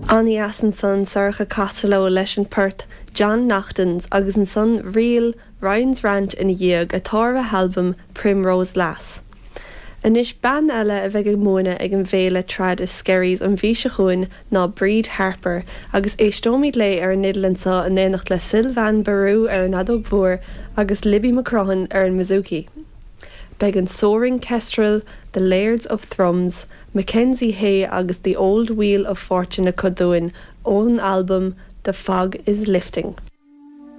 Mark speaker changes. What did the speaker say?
Speaker 1: An-dheas ansan Sorcha Costello leis an port John Naughton's agus ansan ríl Ryan's Rant ina dhiaidh atá ar a halbam Primrose Lass. Anois bean eile a bheidh ag múineadh ag an bhféile Trad i Skerries an mhí seo chugainn ná Bríd Harper agus éisteoimid léi ar an fhidil anseo in éineacht le Sylvain Barou ar an fheadóg mhór agus Libby McCrohan ar an mbouzouki. Beidh an Soaring Kestrel, The Lairds of Thrums, Mackenzie Hay agus The Old Wheel of Fortune acu dúinn ón albam The Fog is Lifting.